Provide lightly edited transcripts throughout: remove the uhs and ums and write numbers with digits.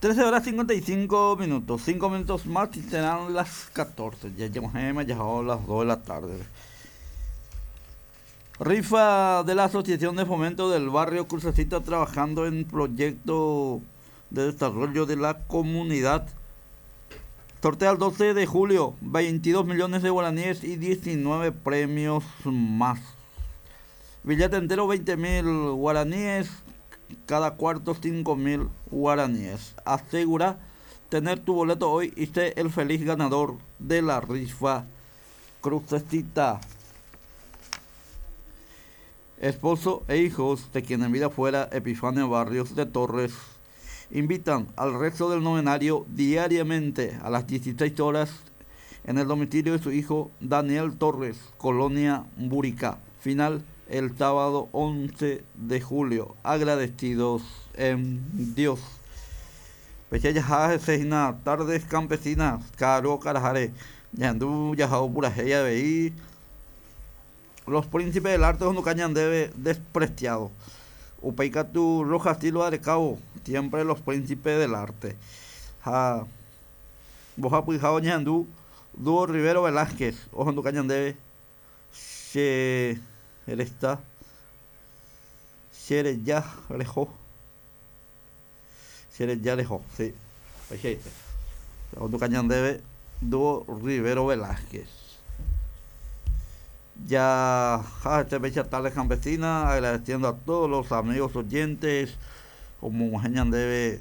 13 horas 55 minutos, 5 minutos más y serán las 14. Ya llegamos ya a las 2 de la tarde. Rifa de la Asociación de Fomento del Barrio Crucecita trabajando en proyecto de desarrollo de la comunidad. Sortea el 12 de julio, 22 millones de guaraníes y 19 premios más. Billete entero 20 mil guaraníes, cada cuarto 5 mil guaraníes. Asegura tener tu boleto hoy y sé el feliz ganador de la rifa Crucecita. Esposo e hijos de quien en vida fuera Epifanio Barrios de Torres invitan al resto del novenario diariamente a las 16 horas en el domicilio de su hijo Daniel Torres, Colonia Buricá. Final el sábado 11 de julio. Agradecidos en Dios. Tardes campesinas, Caro Carajare, Ñandú, Yajao Purajeya, Veí. Los príncipes del arte cañan debe despreciado. Upeikatu Rojas Silva de Cabo, siempre los príncipes del arte. Ja, Boja Ñandú, Dúo Rivero Velázquez, Ojo Cañan debe, Se, él está, Shere ya Rejo, Shere ya Rejo, sí, Ojo Cañan debe, Dúo Rivero Velázquez. Ya, esta fecha tarde campesina, agradeciendo a todos los amigos oyentes, como debe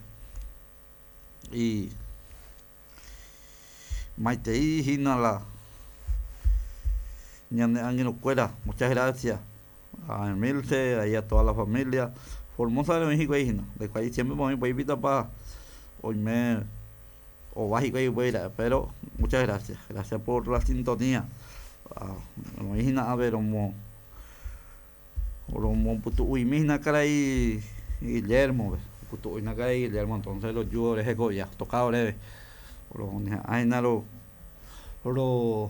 y Maite y la Cuera, muchas gracias a Emilce, ahí a toda la familia. Formosa de México ahí, de ahí siempre me voy a para hoy me o básico ahí pero muchas gracias, gracias por la sintonía. A ver como como cara y Guillermo putu cara y Guillermo entonces los jugadores ya tocado breve ay na lo lo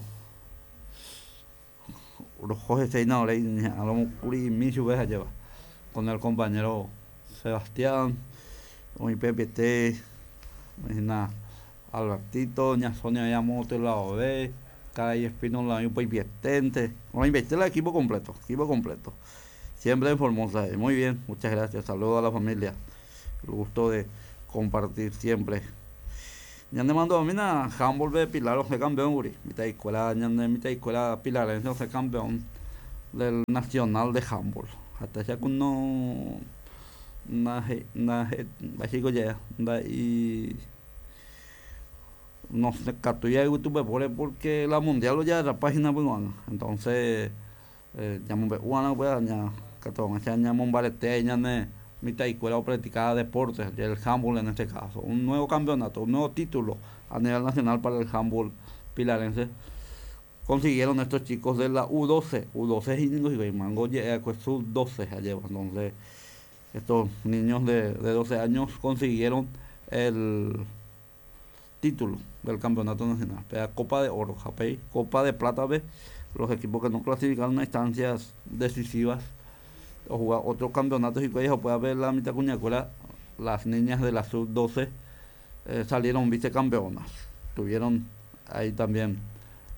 los José Seina a lo curi mi lleva con el compañero Sebastián con mi PPT na Albertito ña Sonia Yamoto la OB Calle Espinola, un país Bueno, el equipo completo, equipo completo. Siempre en Formosa. Muy bien, muchas gracias. Saludos a la familia. El gusto de compartir siempre. Ñande mando a mí na handball de Pilar, o campeón, guri. Mitad escuela, ñande mitad escuela pilarense, o campeón del nacional de handball. Hasta ya con no na na básico ya, da y no sé, catuya YouTube porque la mundial ya la página pues entonces ya me pues ya catón ya mombarete ya ne mitad escuela practicada deportes el handball en este caso. Un nuevo campeonato, un nuevo título a nivel nacional para el handball pilarense. Consiguieron estos chicos de la U12 U12 y mango ya pues sub 12 allá entonces estos niños de 12 años consiguieron el título del campeonato nacional. Copa de Oro, Japey, Copa de Plata B, los equipos que no clasificaron a instancias decisivas o jugar otros campeonatos y que puede ver la mitad cuñacuela, las niñas de la sub 12 salieron vicecampeonas. Estuvieron ahí también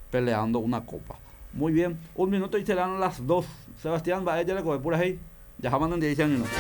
peleando una copa. Muy bien, un minuto y serán las 2. Sebastián, va ella le coge por ahí. Ya jamás en 10 minutos.